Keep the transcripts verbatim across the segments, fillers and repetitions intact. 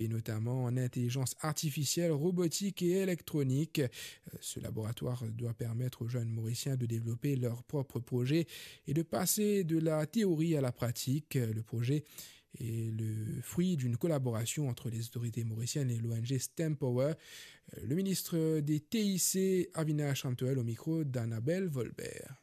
et notamment en intelligence artificielle, robotique et électronique. Euh, ce laboratoire doit permettre aux jeunes Mauriciens de développer leurs propres projets et de passer de la théorie à la pratique. Le projet est le fruit d'une collaboration entre les autorités mauriciennes et l'O N G STEM Power. Euh, le ministre des T I C, Avinash Ramtohel, au micro d'Annabelle Volbert.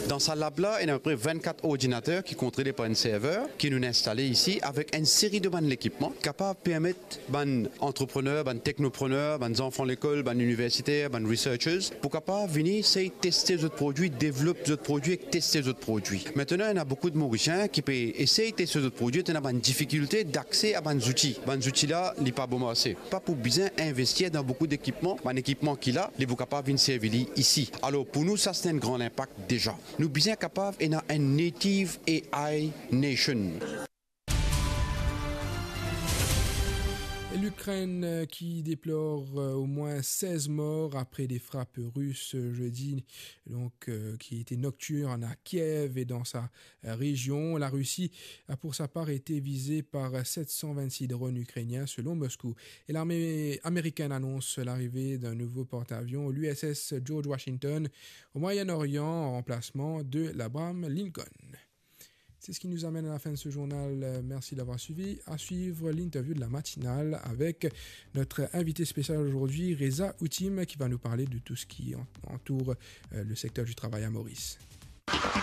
Dan sa lab la, ena apepre vennkat ordinater ki kontrole par enn server ki nou instale isi avek enn seri de bann lekipman kapav permet bann antreprener, bann teknoprener, bann zanfan lekol, bann iniversiter, bann researchers pou kapav vini sey teste zot prodwi, devlop zot prodwi ek teste zot prodwi. Aster, ena boukou de Morisien ki pe esey teste zot prodwi, ena bann difikilte dakse a bann zouti. Bann zouti la, li pa bon marse. Pa pou bizin investir dan boukou lekipman, bann ekipman ki la, li pou kapav vinn servi li isi. Alor, pou nou, sa se enn gran linpak deza. Nou bizin kapav ena enn native A I nation. L'Ukraine, euh, qui déplore, euh, au moins seize morts après des frappes russes, euh, jeudi, donc, euh, qui étaient nocturnes à Kiev et dans sa, euh, région. La Russie a pour sa part été visée par sept cent vingt-six drones ukrainiens, selon Moscou. Et l'armée américaine annonce l'arrivée d'un nouveau porte-avions, l'U S S George Washington, au Moyen-Orient, en remplacement de l'Abraham Lincoln. C'est ce qui nous amène à la fin de ce journal. Euh, merci d'avoir suivi. À suivre l'interview de la matinale avec notre invité spécial aujourd'hui, Reza Outim, qui va nous parler de tout ce qui en-, entoure, euh, le secteur du travail à Maurice.